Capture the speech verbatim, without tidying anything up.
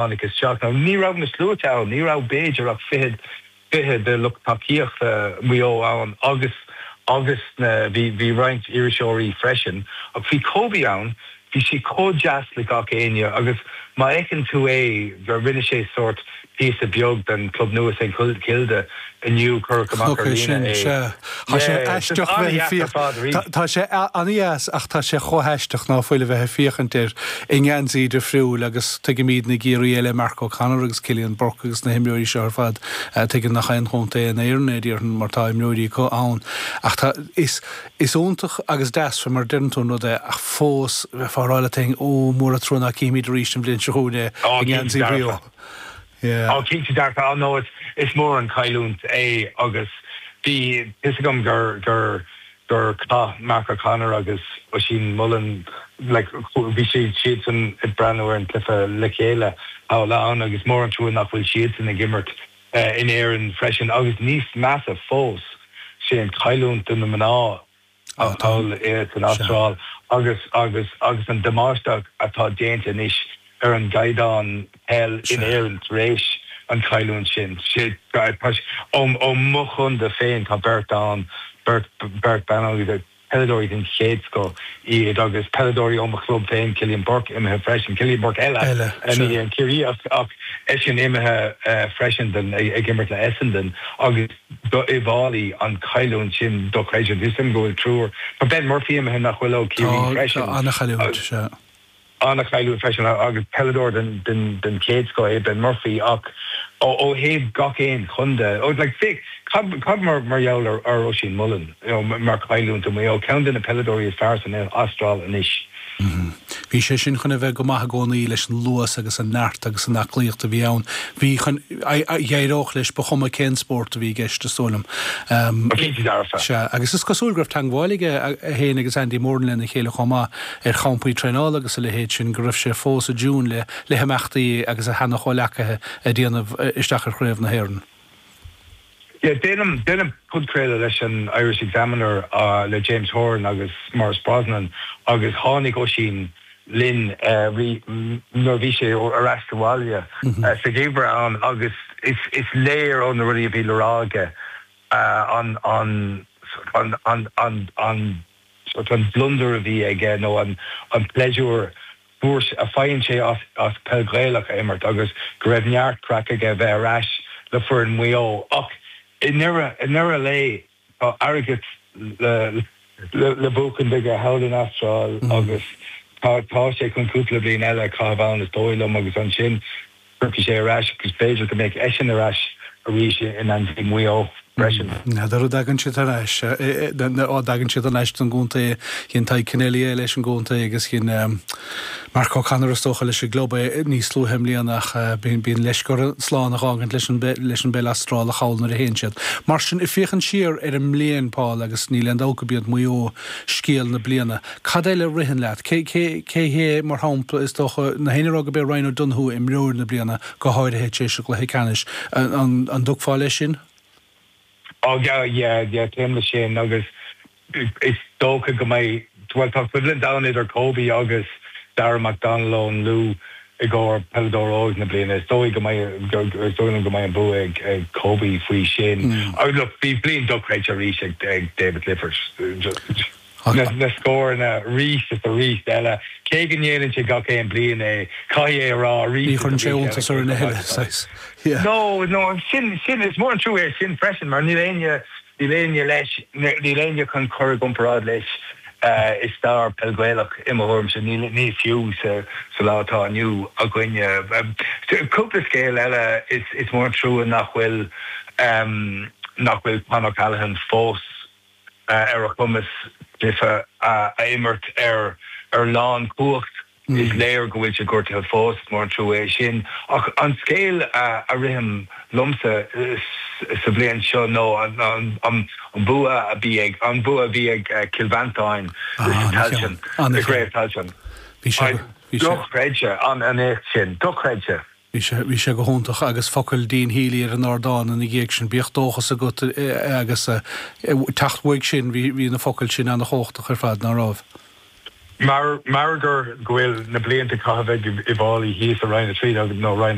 Tháinig isteach. Now ní raibh na sluaite ann, ní raibh b'fhéidir ach fiche fiche de lucht tacaíochta Mhaigh Eo ann agus agus na bhí bhí roinnt iriseoirí freisin. Ach bhí Kobe ann, bhí sé chomh deas le gach éinne agus má fheiceann tú é gur rinne sé sórt píosa beag den club nua St Kilda inniu cuireadh amach ar líne é. Sea. Tá sé aisteach bheith ag féach Tá sé an-deas ach tá sé chomh haisteach ná fuil a bheith ag féachaint air i ngeansaí difriúil agus tuigimid na gCiarraí eile Mark O'Connor agus Cillian Burke agus na himreoirí seo ar fad tuigeann nach aon chontae in Éirinn é déarfainn mar tá imreoirí acu ann ach tá is is iontach agus deas fé mar deireann tú an rud é ach fós bheifeá ag rá leat féin ó mór an trua ná cífimid arís an bhliain seo chugainn é i ngeansaí Mhaigh Eo. Yeah. Ó cinnte dearfa no is is mór an chailliúint é agus bhí fhios agam gur gur gur chaith Mark O'Connor agus Oisín Mullin like bhí siad siadsan ag breathnú ar an cluiche le chéile thall ann agus mór an trua nach bhfuil siadsan ag imirt uh, in Éirinn freisin agus níos measa fós sé an chailliúint do na mná thall san Astráil agus agus agus an damáiste atá déanta anois ar an gcaighdeán peil in Éirinn tar éis an chailliúint sin. sé ó ó mo chontae féin tá beirt ann beirt beirt ban peileadóirí den chéad scoth iad agus peileadóirí ó mo chlub féin Cillian Burke imithe freisin Cillian Burke eile ní an Ciarraí ach eisean imithe freisin den ag imirt le Essendon agus do Uíbh Fhailí an chailliúint sin dochreidte Is go bhfuil triúr Tá Ben Murphy imithe nach bhfuil ó Ciarraí freisin. An-chailliúint sea. An-chailliúint freisin agus peileadóir den den den chéad scoth é Ben Murphy ach ó ó thaobh gach aon chontae ó like féach cad cad mar mar gheall ar ar Oisín Mullin you know, mar chailliúint do Mhaigh Eo ceann de na peileadóirí is fearr san Astráil anois. Bhí sé sin chun a bheith go maith i gcónaí leis an luas agus an neart agus an aclaíocht a bhí ann. Bhí chun d'éireodh leis ba chuma cén spórt a bhí i gceist is dóigh liom. Cinnte dearfa. Sea, agus is cosúil go raibh teagmháil aige é féin agus Andy Moran lena chéile chomh maith ar champaí traenála agus a leithéid sin go raibh sé fós i dtiún le le himeachtaí agus a sheana-chomhleacaithe ag déanamh isteach ar chraobh na hÉireann. Yeah, déanaim déanaim podchraoladh leis an Irish Examiner uh, le James Horan agus Maurice Brosnan agus tháinig Oisín linn uh, nuair bhí sé ar ais sa bhaile mm -hmm. uh, sa gheimhreadh ann agus is, is léir ó na rudaí a bhí le rá aige uh, an an an an an an sort an gliondar a bhí aige nó an an pléisiúr a faigheann sé as as peil Ghaelach a imirt agus go raibh neart craic aige bheith ar ais le foireann Mhaigh Eo ach i ndeireadh lae tá airgead le le le buachan aige thall in Astráil mm. agus tá tá sé chun cúpla bliain eile caitheamh ann is dóigh liom agus ansin cuirfidh sé ar ais agus b'fhéidir go mbeidh eisean ar ais arís in ionsaí Mhaigh Eo freisin. N'fheadar an dtagann siad ar ais á dtagann siad ar ais don gcontae dhein Tadhg Kennelly é leis an gcontae agus dhein Mark O'Connor is dócha leis an gclub é níos luaithe i mbliana ach bíonn leisce orthu slán a fhágaint leis an leis an bpeil Astrálach thall nuair a théann siad. Mar sin ag féachaint siar ar an mbliain Paul agus níl aon dabht gurb iad Maigh Eo scéal na bliana. Cad eile a ritheann leat? Cé cé cé hé mar shampla is dócha na héinne rá gurb é Ryan O'Donoghue imreoir na bliana go háirithe tar éis an chluiche ceannais an an dtiocfá leis sin? Oh yeah yeah yeah téim leis sin agus is dócha go mbeidh well tá coimhlint ann idir Kobe agus Darragh McDonnell ón Lú i gcomhair peileadóir óg na bliana is dóigh go mbeidh is dóigh liom go mbeidh an bua ag ag Kobe faoi sin. Mm. Look bhí bliain dochreidte arís ag ag David Clifford. Na, na scóranna arís is arís eile cé go ndéanann sé gach aon bliain é caithfidh é a rá arís Ní chuireann sé iontas orainn a thuilleadh. Yeah. No no sin sin is mór an trua é sin freisin mar níl éinne níl éinne leis níl éinne chun cur i gcomparáid leis uh, i stair peil Ghaelach i mo thuairimse ní ní fiú sa sa lá atá inniu againne. Um, cúpla scéal eile is is mór an trua nach bhfuil um, nach bhfuil Con O'Callaghan fós uh, ar a chumas cluiche uh, a imirt ar ar lánchumhacht. Mm. Is léir go bhfuil sé gortaithe fós mór an trua é sin ach an scéal uh, a ritheann liomsa uh, sa bhliain seo nó an, an, an, an bua a bhí ag an bua a bhí ag uh, Cill Mhantáin Tailteann gCraobh Tailteann. Bhí sé Dochreidte an an éacht sin dochreidte. Bhí sé bhí sé go hiontach agus focail Dean Healy ar an ardán ina dhiaidh sin bíodh dóchas agat agus teacht uaidh sin bhí bhí na focail sin an-chumhachtach ar fad nach raibh. Mar mar gur go bhfuil na blianta caite ag Uíbh Fhailí thíos i Roinn a trí nó Roinn